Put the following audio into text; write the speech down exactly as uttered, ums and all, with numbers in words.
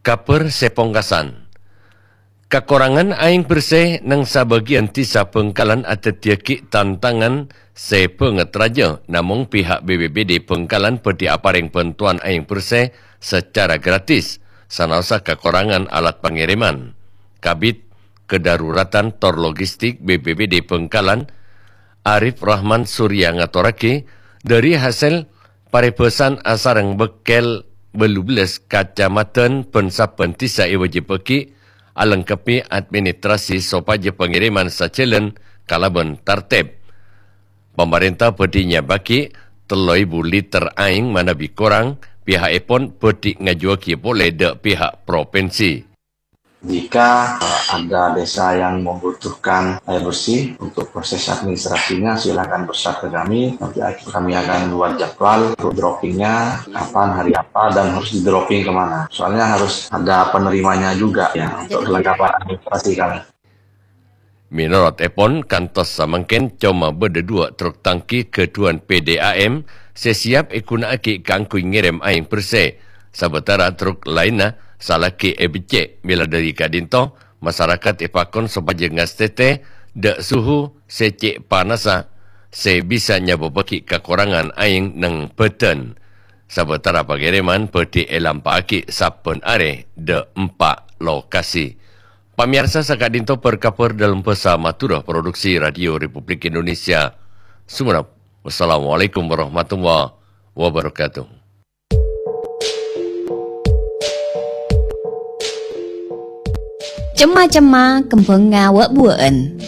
Kabhâr sè pongkasan. Kakorangan aèng bersè neng sabâgiyân dhisa Bhângkalan adhâddhiyâghi tantangan sè bânget rajâ, namong pihak B P B D Bhângkalan bhâdhi aparèng bhântowan aèng bersè sacara gratis, sanaossa kakorangan alat pangèrèman. Kabid, Kedaruratan tor Logistik B P B D Bhângkalan, Arif Rahman Surya ngatorraghi, dhâri hasèl parèbhâsan asareng bâkkèl bâllu bellâs kacamadhân bân sabbhân dhisa èwâjibhâghi alengkebbi administrasi sopajâ pangèrèman sajhâlân kalabân tartèb. Pamarènta bhâdhi nyèbbhâghi tello èbu liter aèng manabi korang, pihakèpon bhâdhi ngajuwâghi polè dhâ' pihak propinsi. Jika, eh, ada desa yang membutuhkan air bersih untuk proses administrasinya, silakan WhatsApp ke kami. Nanti kami akan buat jadwal untuk droppingnya, kapan, hari apa, dan harus di-dropping kemana. Soalnya harus ada penerimanya juga ya untuk kelengkapan administrasi kami. Mènorot èpon, kantos samangkèn coma bâdâ duwâ' truk tangki ghâdhuwân P D A M sè siap èghuna'aghi kaangghuy ngèrèm aèng bersè. Sabâtara truk laènna salaghi èbeccè'. Mèla dhâri ka'dinto, masarakat èpakon sopajâ ngastètè dhâ' suhu sè cè' panassa sè bisa nyabâbbhâghi kakorangan aèng neng bhâdhân. Sabâtara pangèrèman bhâdhi èlampa'aghi sabbhân arè dhâ' empa' lokasi. Pamèyarsa, saka'dinto bâr-kabhâr dâlem bhâsa Madhurâ, produksi Radio Republik Indonesia Sumenep. Wassalamualaikum warahmatullahi wabarakatuh. Cemma-cemma kembhângnga wâ'-buwâ'ân.